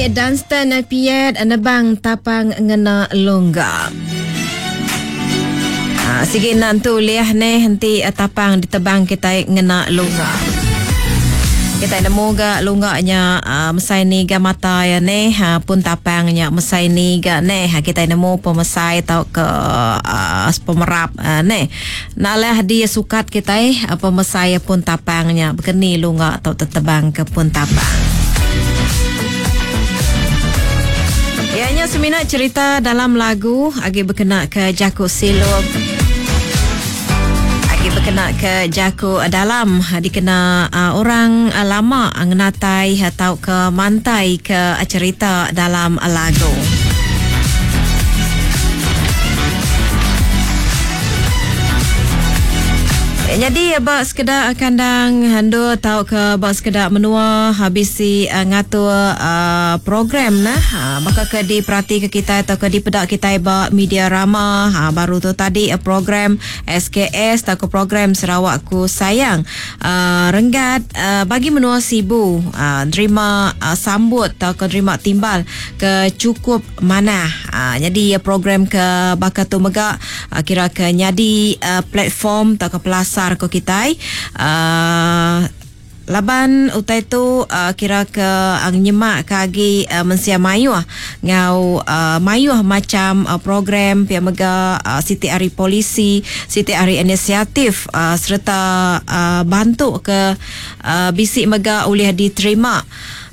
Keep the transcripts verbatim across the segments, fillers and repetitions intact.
Tadi Dunstan Piet nebang tapang ngena longga. Ha, sigi nantu liah neh henti tapang ditebang kita ngena longga. Kita nemu ga lunggaknya uh, mesai ni ga mata ya neh uh, pun tapangnya mesai ni ga neh uh, kita nemu pemesai tau ke uh, pemerap uh, neh nalah di sukat kita uh, pemesai pun tapangnya bekeni lunggak tau tetebang ke pun tapang. Ianya semina cerita dalam lagu agi berkena ke Jaku Silop. Agi berkena ke Jaku dalam dikena uh, orang uh, lama ngenatai atau ke mantai ke cerita dalam lagu. Jadi bak sekedar kandang hendur tau ke bak sekedar menua habisi uh, ngatur uh, program nah uh, maka ke diperhati ke kita atau ke dipedak kita bak media rama uh, baru tu tadi uh, program S K S atau ke program Sarawakku Sayang uh, renggat uh, bagi menua Sibu uh, nerima uh, sambut atau ke nerima timbal ke cukup manah. Uh, jadi uh, program ke bakal tu megak uh, kira ke nyadi uh, platform atau ke pelasar ko kitai uh, laban utai tu uh, kira ke uh, nyemak ke agi uh, mensia mayuh ngau uh, mayuh macam uh, program pia mega uh, siti hari polisi siti hari inisiatif uh, serta uh, bantu ke uh, bisik mega oleh diterima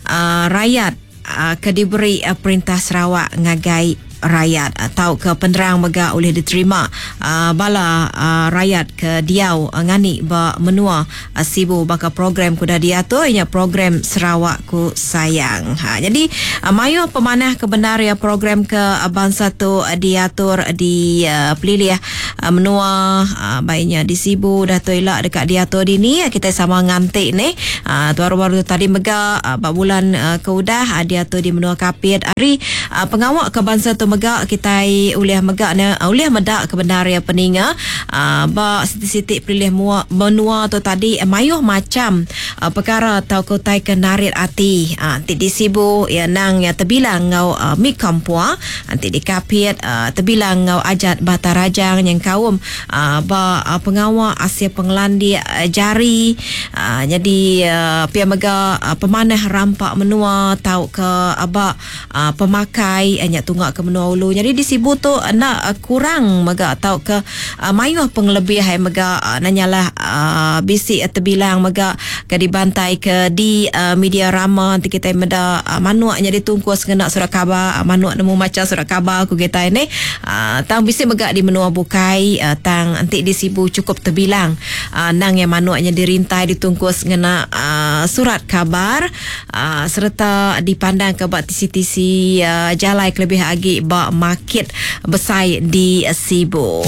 uh, rakyat uh, ke diberi uh, perintah Sarawak ngagai rakyat atau ke penerang mega oleh diterima uh, bala uh, rakyat ke diau uh, ngani ba menua uh, Sibu baka program kuda diatur ianya program Sarawakku Sayang. Ha, jadi uh, mayu pemanah kebenar ya program ke uh, bangsa tu uh, diatur di uh, pelilih uh, menua uh, baiknya di Sibu dah tu elak dekat diatur di ni kita sama ngantik ni uh, tu baru-baru tadi mega uh, bak bulan uh, keudah uh, diatur di menua Kapit hari uh, pengawak ke bangsa tu megak kita ulih megak ne ulih medak kebenar ya peninga uh, ba siti-siti pilih mua, menua tu tadi mayuh macam uh, perkara atau kotai ke narit ati uh, nanti di Sibu ya nang ya terbilang ngau uh, mi kampua nanti di Kapit uh, terbilang ngau ajat Batarajang yang kaum uh, ba uh, pengawak asia pengelandi uh, jari uh, jadi uh, pia mega uh, pemanah rampak menua tau ke uh, ba uh, pemakai uh, nyak tunggak ke menua ulu. Jadi di Sibu tu nak kurang mega atau ke uh, mayuh pengelebih hai mega uh, nanyalah uh, bisik terbilang mega ke dibantai ke di uh, media rama nanti kita meda uh, manuaknya ditungkus kena surat khabar uh, manuak nemu maca surat khabar ku kita ni uh, tang bisik mega di menua bukai uh, tang nanti di Sibu cukup terbilang uh, nang yang manuaknya dirintai ditungkus kena uh, surat khabar uh, serta dipandang ke bak T C T C uh, jalai kelebih agi bak market besar di Sibu.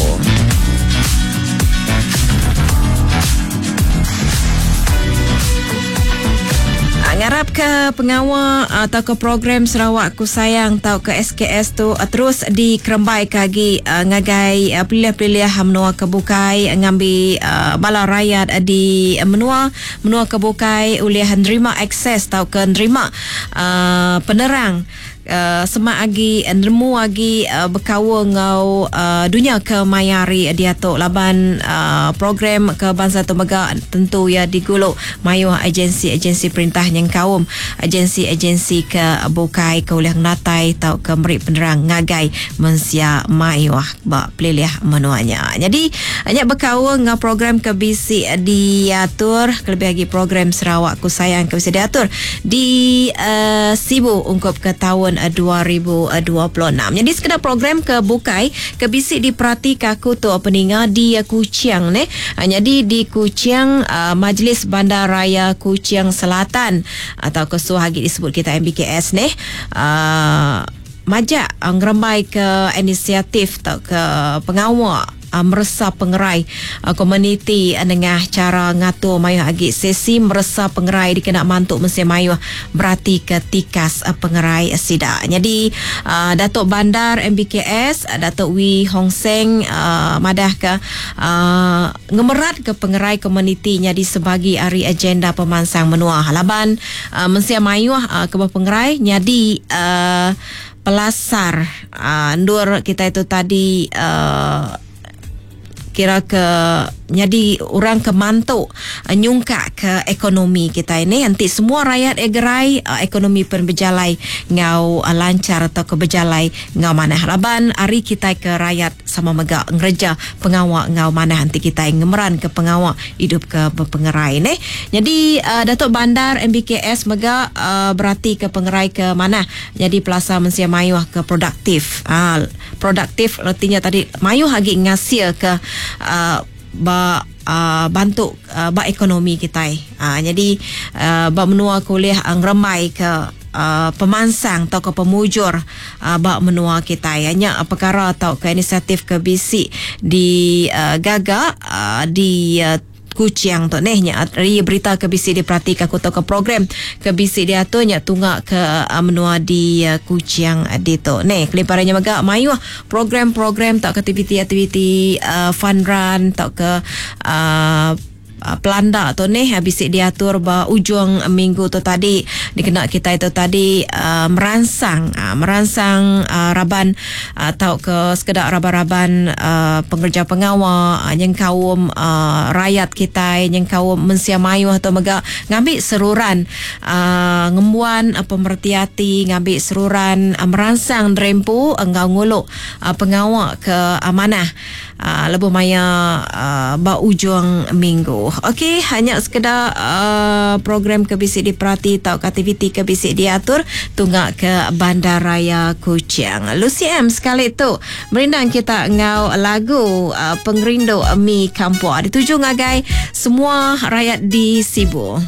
Ngarap ke pengawal atau ke program Sarawakku Sayang atau ke S K S tu terus dikerembai kagi ngagai pilih-pilih menua kebukai ngambi bala rakyat di menua menua kebukai oleh nerima akses atau ke nerima penerang Uh, semak agi nemu agi uh, berkaul ngau uh, dunia ke mayari dia tu laban uh, program ke bangsa tu mega tentu ya diguluk mayuh agensi-agensi perintah yang kaum agensi-agensi ke bukai ke oleh natai tau ke meri penerang ngagai mensia mayuh ba pelilih menuanya. Jadi hanya berkaul ngau program ke B C diatur kelebih lagi program Sarawakku Sayang ke B C diatur di uh, Sibu ungkup ke tahun dua ribu dua puluh enam. Jadi sekedar program ke bukai ke bisik diperhati kaku tu peninga di Kuching ni. Jadi di Kuching uh, Majlis Bandaraya Kuching Selatan atau kesuah lagi disebut kita M B K S ni uh, majak ngerembai ke inisiatif atau ke pengawal uh, meresa pengerai uh, komuniti nengah cara ngatur mayuh agi sesi meresa pengerai dikena mantu mensia mayuh berati ke tikas uh, pengerai sida. Jadi uh, Datuk Bandar M B K S Datuk Wee Hong Seng uh, madah ke uh, ngemerat ke pengerai komuniti jadi sebagi hari agenda pemansang menua. Laban uh, mensia mayuh uh, ke pengerai jadi uh, pelasar uh, ndur kita itu tadi uh, kira ke jadi orang ke mantu uh, nyungkak ke ekonomi kita ini. Nanti semua rakyat egerai uh, ekonomi pun berjalai ngau uh, lancar atau ke berjalai ngau manah. Laban hari kita ke rakyat sama megak ngereja pengawak ngau manah nanti kita ngemeran ke pengawak hidup ke berpengerai ni. Jadi uh, Datuk Bandar M B K S megak uh, berarti ke pengerai ke manah. Jadi pelasa mensia mayuh ke produktif. Uh, produktif artinya tadi mayuh lagi ngasil ke Uh, ba, uh, bantu uh, ba ekonomi kita. Uh, jadi uh, ba menua kuliah ngeremai ke uh, pemansang atau ke pemujur uh, ba menua kita. Hanya uh, perkara atau ke inisiatif ke bisi di uh, gagak uh, di uh, Kuching tu neh nya ri berita ke bisi diperhatikan aku ke program ke bisi diatur nya tunggak ke uh, menua di uh, Kuching uh, di tu neh kelimparannya megak mayuh program-program tak aktiviti-aktiviti uh, fun run tak ke uh, pelanda tu ni habis diatur ba ujung minggu tu tadi dikena kita itu tadi uh, merangsang uh, merangsang uh, raban atau uh, ke sekedar raban-raban uh, pengerja pengawal uh, yang kaum uh, rakyat kita yang kaum mensia mayuh atau megak ngambil seruran uh, ngembuan uh, pemerhati ngambil seruran uh, merangsang drempu enggau nguluk uh, pengawal ke amanah uh, lebuh maya uh, ba ujung minggu. Okey, hanya sekedar uh, program ke bisi diperhati atau aktiviti ke bisi diatur tunggak ke Bandaraya Kuching. Lucy M sekali tu merindang kita ngau lagu uh, Pengerindu Mi Kampua dituju ngagai semua rakyat di Sibu.